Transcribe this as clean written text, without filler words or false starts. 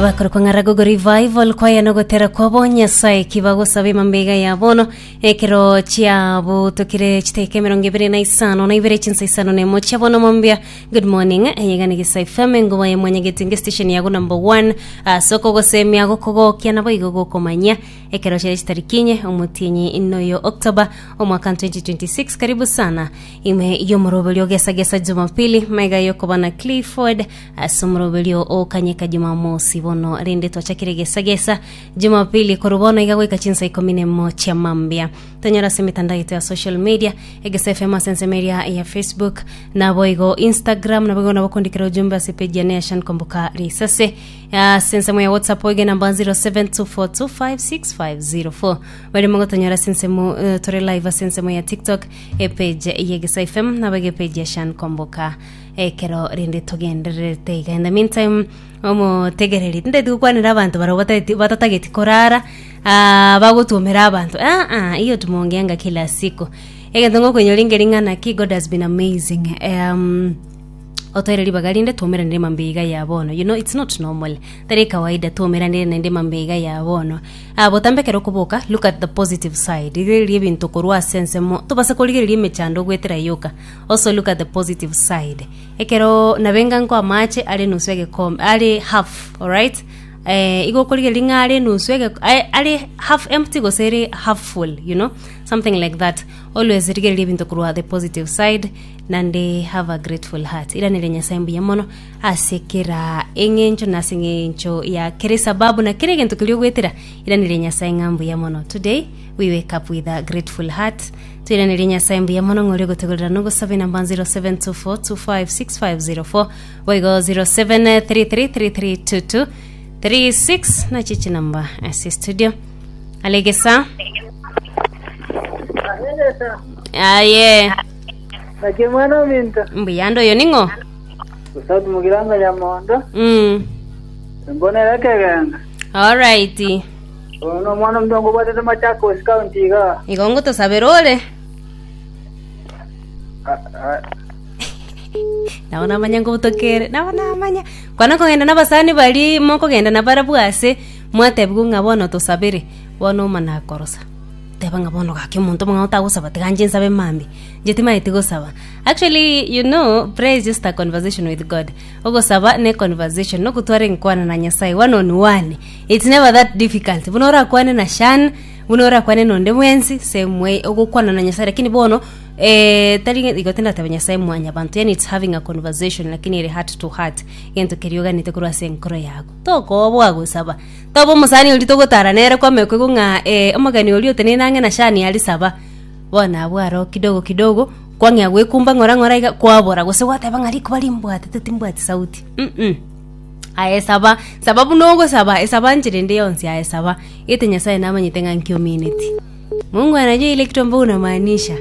Bakorokwa ng'a Ragogo Revival kwaya nogotera kwabo Nyasaye ki bagosaba emambega ya bono ekero chiabutokire chiteka 25 na ibere chinsa 51 chia bono mambia. Good morning, eyega ni Gisa FM engoba ya mwanyagetinge station yago number 1 ase okogosemia gokogokia nabo igo gokomanyia ekero chire chitariki inye omotienyi noyo October omwaka 2026. Karibu sana ime y'omoroberio gesa gesa Jumapili maiga yokoba na Clifford Ase omoroberio o kanyeka Jumamosi bono rende twachakire gesa gesa Jumapili korwa bono iga goika chinsa ikomi nemo chia mambia. Tonyora ase emetandao yaito ya social media Egesa FM ase ensemo eria ya Facebook naboigo Instagram naboigo nabo kondikera ujumbe ase page yane ya Shan Kwamboka Risase ase ensemo ya WhatsApp oige namba 0724256504 bari mogotonyora ase ensemo eh, tore live ase ensemo ya TikTok epage ya Egesa FM naboigo epage ya Shan Kwamboka Ekero rende togendererete iga in the meantime omotegereri tintageti gokwanera abanto barabwo batageti batatageti korara ah, bagotwomera abanto aa hiyo tumeongeanga kila siku egento ngokoinyora nkeri ng'a naki God has been amazing um, otoire ribaga rinde twomeranire mambia iga ya bono you know it's not normal tari kawaida twomeranire naende mambia iga ya bono ah, botambe ekero okoboka look at the positive side rigereria ebinto korwa ase ensemo tobasa korigereria emechando ogwetera yoka Also look at the positive side. Ekero nabenga nko amache are nusu egekombe are half, alright? Eh, igo okorigereria ng'a are nusu ege ae- are half empty gose ere half full, you know? Something like that. Always rigereria ebinto korwa the positive side nande have a grateful heart. Iraneria Nyasaye mbuya mono ase kera eng'encho na ase eng'encho ya kera esababu na kera egento keria ogwetera, iraneria Nyasaye ng'a mbuya mono. Today we wake up with a grateful heart. Toiranerie Nyasae mbuya mono ng'a oria ogotegorera nogosaba enamba 0724256504 boigo 0733332236 nachi chinamba ase studio alegesa Alegesa. aye Naki mwana ominto. mbuya ande oyo ning'o Gosati mugiranga nyamondo. mm. Mbonere ekegenga. alright Oyo nomwana omonto ngobwatete Machakos County igaa. Igo ngotosabera ore. Nabo namanya ngobutokere, nabo namanya. Kwana kogenda na abasani baria mokogenda nabarabwo ase, mwatebigwa ng'a bono tosabere, bono omana korosa. Teba ng'a bono gaki omonto omong'ao tagosaba tiga inche nsabe mambia, inche timanyeti gosaba. Actually you know prayer is just a conversation with God. Ogosaba ne conversation, nogotwara enkwana na Nyasaye one on one. It's never that difficult. Buna orakwane na Shan, buna orakwane na onde bwensi, same way ogokwana na Nyasaye lakini bono eh, tari ng'a igo tindateba Nyasaye mwanyabanto, yaani it's having a conversation lakini ere heart to heart, egento keria oganete korwa ase enkoro yago. Tokoboa gosaba, toba omosani oria togotara nere kwamanya koigwa ng'a eh, omogeni oria oteneine ang'e na Shani aria saba, bono abwo aro kidogo kidogo, kwang'ea goekumba ng'ora ng'ora iga kwabora, gose gwateba ng'a rikuba rimbwatete timbwati sauti mm. Aye saba, saba buna ogosaba, esaba nchera ende yonsi aye saba, gete Nyasaye namanyete ng'a nki omineti. Mungu anajua ile kitu ambayo unamaanisha.